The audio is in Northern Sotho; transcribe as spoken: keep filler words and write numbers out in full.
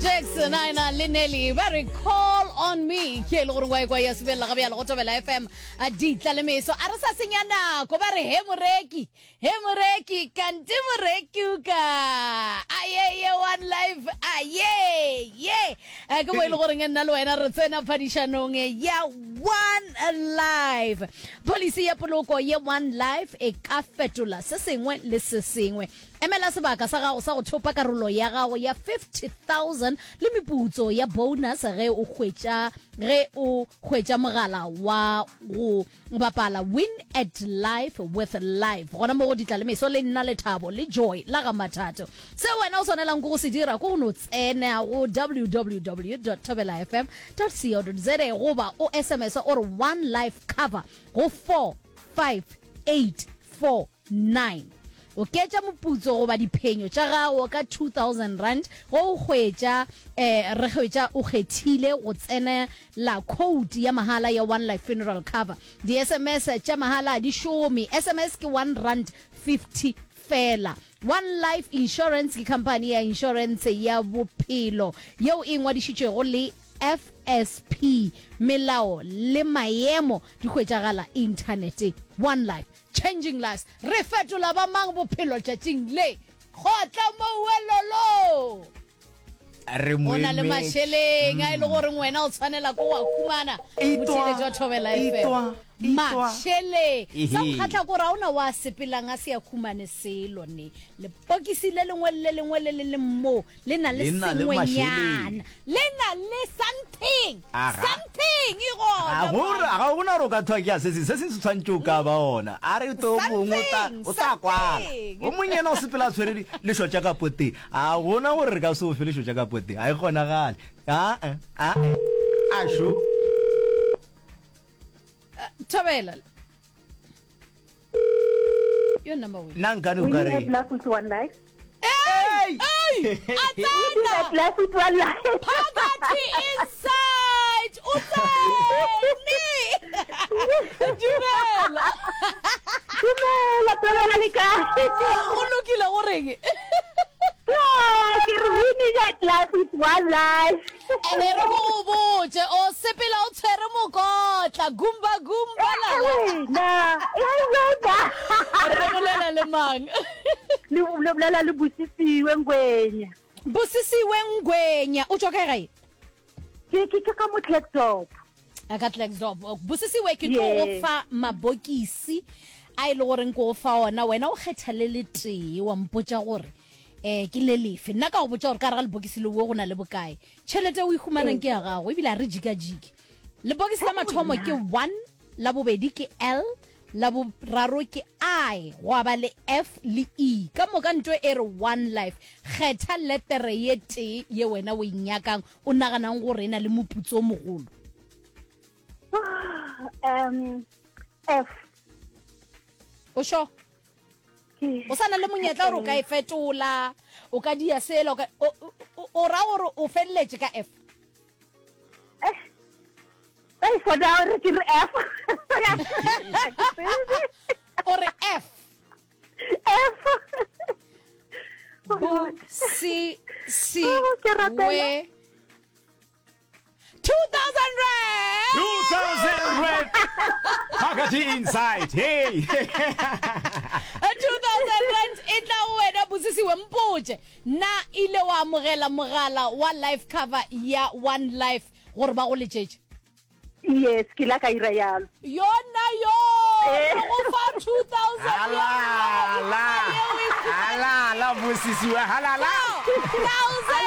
Jackson a ena le Nelly ba re call on me ke e le gore wa ekwa ya sebelela ga bjalo go Thobela FM a ditla le meso a re sa senya nako ba re he moreki he moreki kante moreki o ka ayeye one life aye ye Eh, ke mo e le goreng nna le wena re tsena phadišanong ya one life policy ya poloko ye one life e ka fetola se sengwe le se sengwe emela sebaka sa gago sa go thopa karolo ya gago ya fifty thousand le meputso ya bonus ge o hwetša ge o hwetša mogala wa go bapala win at life with life gona mo go ditla le meso le nna lethabo le joy la ga mathato se wena o swanelang ke go se dira ke go no tsena go www thobela fm co za goba o sms o re one life cover go four five eight four nine oketša moputso goba diphenyo tša gago ka two thousand rand go o hwetša eh re hwetša o kgethile go tsenela code ya mahala ya one life funeral cover di sms tša mahala di šome sms ke one rand fifty fela one life insurance ke company ya insurance ya bophelo yeo e ngwadišitšwego le F S P melao le maemo di hwetšagala inthaneteng one life changing lives re fetola ba mang bophelo tšatšing le kgotla mouelolo re o na le moemetše. mašeleng a e le goreng wena o tshwanela ko wa humana motheletši wa thobela F M Itwa, itwa. mašeleng sa go Ehe. kgatlha kore ga ona wa sepelang a se a humane selo ne lepokisi le lengwe le le lengwe le le leng moo le na le Le na le sengwenyana mašeleng. le na le something Aga. something e ga gona gore mane. ga gona gore o ka thwa ke a se seng se seng se tshwanetse o ka ba ona a re to mongwe o tla Something, o tla kwala something. o mongwe yena o sepela a tshwere di- lešo tša ka poteng a gona gore re ka se o fe lešo tša ka poteng a e kgonagale aa aa a šo thobela yo number one nna nkane o ka Winning re at life with one life. Hey! Hey! Winning A at life with one life. Poverty inside! O tsene! Dumela! Dumela, Thobela le kae? O lokile go reng? Ah, ke re winning at life with one life. Ene re go go botse o sepela o tshwere mokotla gumba gumba la la. Wena, eh, wena. Re bolela le mang? Le le bolela le Busisiwe Ngwenya. Busisiwe Ngwenya o tšwa kae gae? Ke ke ke ka mo Klerksdorp. A ka Klerksdorp. Busisiwe ke tlo go Yes. fa mabokisi a e le goreng ke go fa ona wena o kgetha le le tee wa mpotša gore eh ke le lefe nna ka go botša gore ka gare ga lebokisi le wo go na le bokae tšhelete o e humanang ke ya gago ebile a re jikajike lebokisi la mathomo ke one la bobedi ke L la boraro ke I gwa ba le F le E ka moka nto e re one life kgetha letere ye tee ye wena o e nyakang o naganang gore e na le moputso o mogolo Um F. o sure Ke o sa na le monyetla gore o ka e fetola o ka dia sela o ka- o- o o ra gore o feleletše ka F Eh. Hey, for now re ke re F. o re F F. B C C Oh, ke rapela. we two thousand rand two thousand rand Poverty inside hey two thousand rand e tla go wena Busisiwe mpotše na ile wa amogela mogala wa life cover ya one life gore ba go letšetše Yes, ke la ka ira yalo. yona yo Eh. re go fa two thousand halala halala Busisiwe halala thousand